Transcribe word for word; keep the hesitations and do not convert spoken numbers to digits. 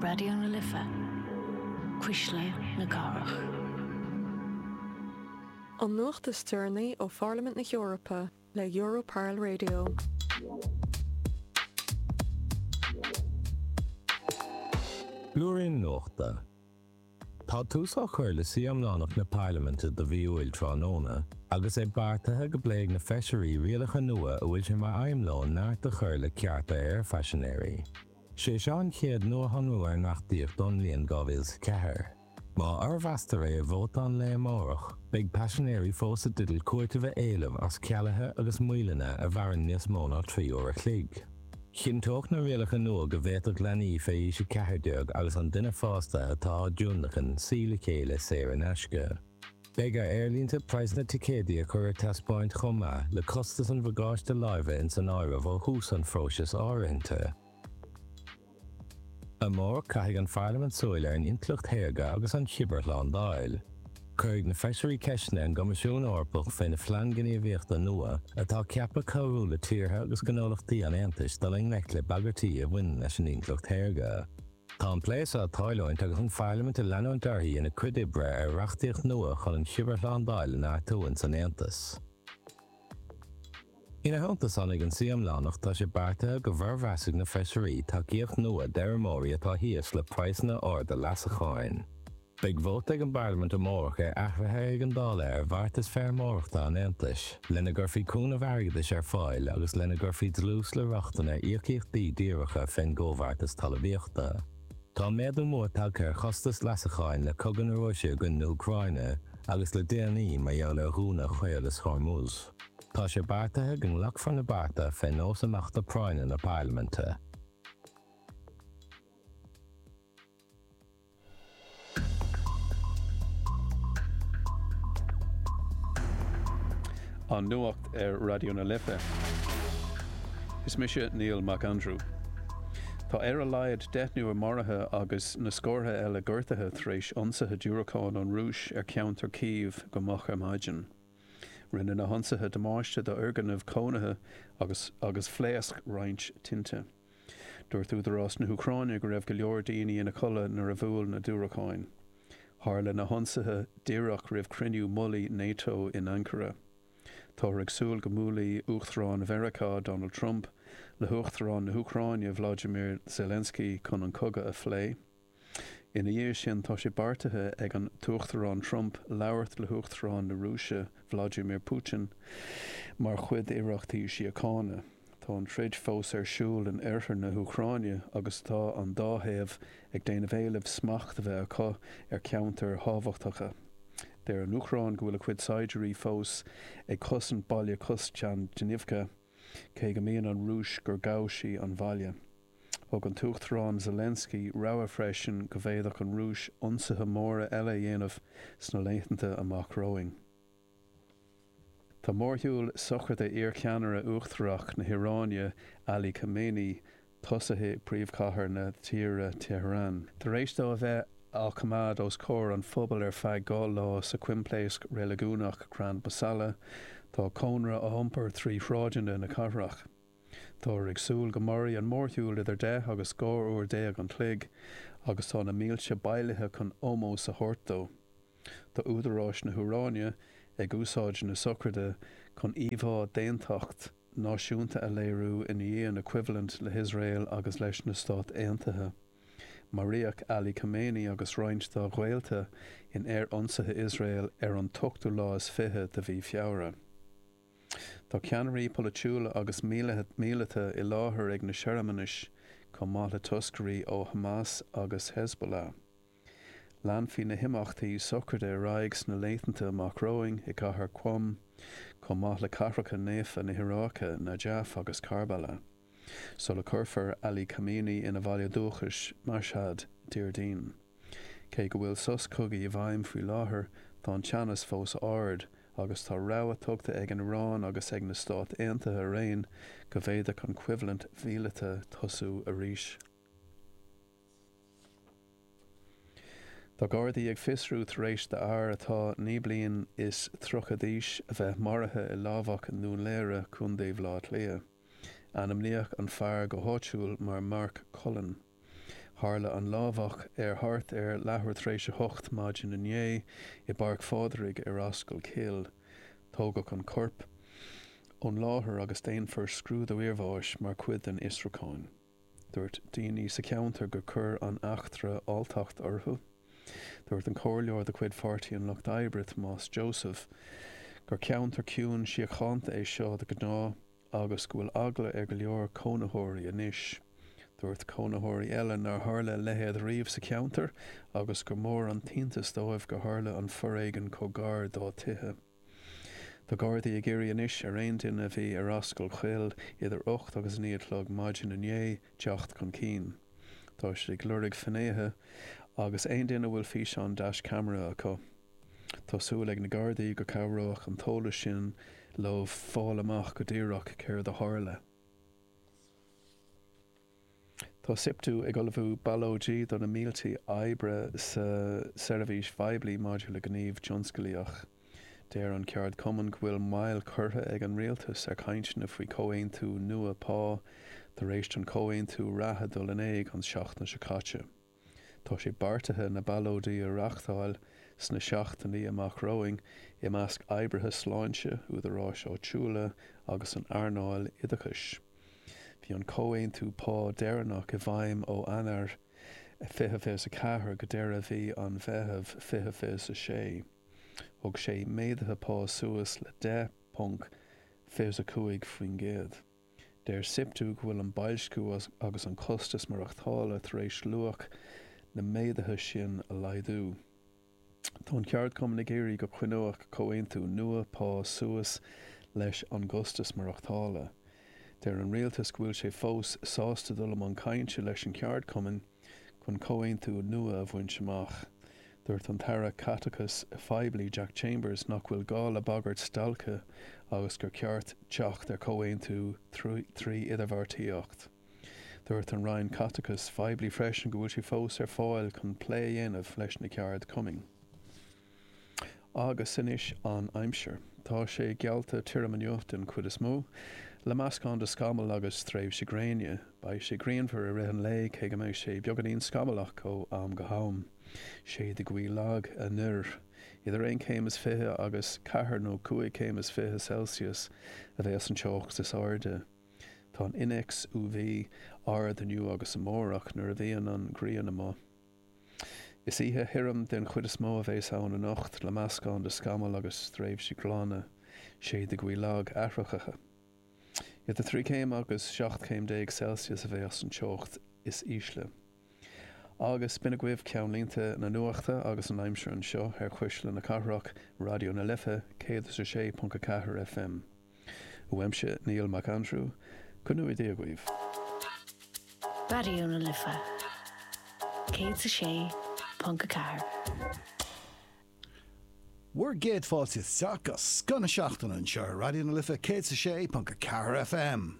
Raidió na Life, Cuisle na Cathrach. An nuacht is deireanaí ó Pharlaimint na hEorpa le Europarl Radio. Blúirín Nuachta. Tá tús á chur le suí iomlánach na Parlaiminte do mhí Iúil tráthnóna, agus é beartaithe go bpléifidh na feisirí rialacha nua a bhfuil sé mar aidhm leo neart a chur le cearta aerphaisinéirí. Sé seo an chéad nuashonrú ar an reachtaíocht ón mbliain dhá mhíle is a ceathair. Má fhormheastar é i vóta an lae amárach, beidh paisinéirí fós i dteideal cúiteamh a éileamh as cealuithe agus moilleanna a mhaireann níos mó ná trí uair a chloig. Chinnteodh na rialacha nua go bhféadfadh leanaí fé aois a ceathair déag agus an duine fásta atá á dtionlacan suí le chéile saor in aisce. Beidh ar aerlínte praghsanna ticéidí a chur ar taispeáint chomh maith, le costas an bhagáiste láimhe ins an áireamh ó thús an phróisis áirithinte. Amárach caithfidh an Pharlaimint súil ar an intleacht shaorga agus an chibearshlándáil. Cuirfidh na feisirí ceisteanna ar an gCoimisiún Eorpach faoina phlean gníomhaíochta nua, atá ceaptha cabhrú le tíortha agus gnólachtaí an Aontais dul i ngleic le bagairtí a bhaineann leis an intleacht shaorga. Tá an plé seo ag tarlúint agus an Pharlaimint ag leanúint uirthi ina cuid oibre ar reachtaíocht nua chun an chibearshlándáil a neartú ins an Aontas. Ina theannta san, ag an suí iomlánach tá sé beartaithe go bhformheasfaidh na feisirí tacaíocht nua d'fheirmeoirí atá thíos le praghsanna arda leasacháin. Beidh vóta ag an bParlaimint amárach ar athruithe éigeandála ar bheartas feirmeoireachta an Aontais, lena gcuirfí cúnamh airgeadais ar fáil agus lena gcuirfí dlús le rochtain ar íocaíochtaí díreacha fén gComhbheartas Talmhaíochta. Tá méadú mór tagtha ar chostas leasacháin le cogadh na Rúise i gcoinne na hÚcráine agus le déanaí mar gheall ar dhúnadh Chaolas Hormuz. Tá sé beartaithe go nglacfar na bearta fé nós imeachta práinne na Parlaiminte. An Nuacht ar Raidió na Life. Is mise Niall Mac Aindriú. Tá ar a laghad deichniúr maraithe agus na scórtha eile gortaithe tar éis ionsaithe diúracán ón Rúis ar cheantar Kyiv go moch ar maidin. Rinne na hionsaithe damáiste d'fhoirgnimh cónaithe agus agus phléasc roinnt tinte. Dúirt údaráis na hÚcráine go raibh go leor daoine ina codladh nuair a bhuail na diúracáin. Tharla na hionsaithe díreach roimh chruinniú mullaigh Nato in Ankara. Táthar ag súil go mbuailfidh Uachtarán Mheiriceá Donald Trump le hUachtarán na hÚcráine Vladimir Zelensky chun an cogadh a phlé. Ina dhiaidh sin tá sé beartaithe ag an tUachtarán Trump labhairt le hUachtarán na Rúise Vladimir Putin mar chuid d'iarrachtaí síochána. Tá an troid fós ar siúl in oirthear na hÚcráine agus tá an dá thaobh ag déanamh éilimh smacht a bheith acu ar cheantair thábhachtacha. Deir an Úcráin go bhfuil a cuid saighdiúirí fós ag cosaint baile Kostiantynivka, cé go maíonn an Rúis gur ghabh sí an bhaile. Thug an tUachtarán Zelensky rabhadh freisin go bhféadfadh an Rúis ionsaithe móra eile a dhéanamh sna laethanta amach romhainn. Tá mórshiúl sochraide iarcheannaire uachtarach na hIaráine, Ali Khamenei, tosaithe i bpríomhchathair na tíre, Tehran. Tar éis dó a bheith á choimeád os comhair an phobail ar feadh dhá lá sa choimpléasc reiligiúnach Grand Mosalla, tá a chónra á iompar trí shráideanna na cathrach. Táthar ag súil go mairfidh an mórshiúl idir deich agus dhá uair déag an chloig agus tá na mílte bailithe chun ómós a thabhairt dó. Tá údaráis na hIaráine ag úsáid na sochraide chun íomhá d'aontacht náisiúnta a léiriú i ndiaidh na coimhlinte le hIosrael agus leis na Stáit Aontaithe. Maraíodh Ali Khamenei agus roinnt dá ghaolta in aerionsaithe Iosrael ar an t-ochtú lá is fiche de mhí Feabhra. Tá ceannairí polaitiúla agus míleata i láthair ag na searmanais, chomh maith le toscairí ó Hamas agus Hezbollah. Leanfaidh na himeachtaí sochraide ar aghaidh sna laethanta amach romhainn i gcathair Qom, chomh maith le cathracha naofa na hIaráice, Najaf agus Karbala, sula cuirfear Ali Khamenei ina bhaile dúchais, Mashhad, Déardaoin. Cé go bhfuil sos cogaidh i bhfeidhm faoi láthair, tá an teannas fós ard, agus tá rabhadh tugtha ag an Iaráin agus ag na Stáit Aontaithe araon go bhféadfadh an choimhlint mhíleata tosú arís. Tá Gardaí ag fiosrú tar éis d'fhear atá naoi bliain is tríocha d'aois a bheith maraithe i lámhach i nDún Laoghaire, Contae Bhaile Átha Cliath. Ainmníodh an fear go háitiúil mar Mark Cullen. Tharla an lámhach ar thart ar leathuair tar éis a hocht maidin inné i bPáirc Phádraig ar Ascaill Chill. Tógadh an corp ón láthair agus déanfar scrúdú iarbháis mar chuid den fhiosrúchán. Dúirt daoine sa cheantar gur chuir an eachtra alltacht orthu. Dúirt an comhairleoir de chuid Pháirtí an Lucht Oibre Tomás Joseph gur ceantar ciúin síochánta é seo de ghnáth agus go bhfuil eagla ar go leor cónaitheoirí anois. Dúirt cónaitheoirí eile nár tharla a leithéid riamh sa cheantar agus gur mór an t-iontas dóibh gur tharla an foréigean chomh gar dá dtithe. Tá Gardaí ag iarraidh anois ar aon duine a bhí ar Ascaill Chill idir ocht agus a naoi a chlog maidin inné teacht chun cinn. Tá siad ag lorg finnéithe agus aon duine a bhfuil físeán dash camera acu. Tá súil ag na Gardaí go cabhróidh an t-eolas sin leo fáil amach go díreach céard a tharla. Tá SIPTU ag ullmhú ballóidí do na mílte oibrí sa seirbhís phoiblí maidir le gníomh tionsclaíoch. Deir an ceardchumann go bhfuil moill curtha ag an rialtas ar chainteanna faoi chomhaontú nua pá tar éis don chomhaontú reatha dul in éag an tseachtain seo caite. Tá sé beartaithe na ballóidí a reáchtáil sna seachtainí amach romhainn i measc oibrithe sláinte, údaráis áitiúla agus an earnáil oideachais. Bhí an comhaontú pá deireanach i bhfeidhm ó Eanáir fiche fiche a ceathair go deireadh mhí an Mheithimh fiche fiche a sé. Thug sé méaduithe pá suas le deich ponc fiche a cúig faoin gcéad. Deir SIPTU go bhfuil an boilsciú agus an costas maireachtála tar éis luach na méaduithe sin a laghdú. Tá an ceardchumann ag iarraidh go gcoinneodh comhaontú nua pá suas leis an gcostas maireachtála. Deir an rialtas go bhfuil sé fós sásta dul i mbun cainte leis an cheardchumann chun comhaontú nua a bhaint amach. Dúirt an tAire Caiteachais Phoiblí Jack Chambers nach bhfuil gá le bagairt stailce agus gur ceart teacht ar chomhaontú trí idirbheartaíocht. Dúirt an Roinn Caiteachais Phoiblí freisin go bhfuil sé fós ar fáil chun plé a dhéanamh leis na ceardchumainn. Agus anois an aimsir. Tá sé geallta tirim inniu den chuid is mó, le meascán de scamaill agus tréimhsí gréine. Beidh sé grianmhar i rith an lae cé go mbeidh sé beagáinín scamallach ó am go ham. Séidfidh gaoth lag anoir. Idir aon chéim is fiche agus ceathair nó cúig chéim is fiche Celsius a bheas an teocht is airde. Tá an innéacs U V ard inniu agus amárach nuair a bhíonn an ghrian amuigh. Is oíche thirim den chuid is mó a bheas ann anocht le meascán de scamaill agus tréimhsí glana, séidfidh gaoth lag athraitheach. Idir trí chéim agus seacht chéim déag Celsius a bheas an teocht is ísle. Agus b'in agaibh ceannlínte na nuachta agus an aimsir anseo ar Chuisle na Cathrach, Raidió na Life, céad is a sé ponc a ceathair F M. Uaimse Niall Mac Aindriú, go ngnóthaí Dia agaibh. Raidió na Life céad a sé ponc a ceathair. Bhur gcéad fáilte isteach go scoth na seachtaine anseo ar Raidió na Life céad a sé ponc a ceathair F M.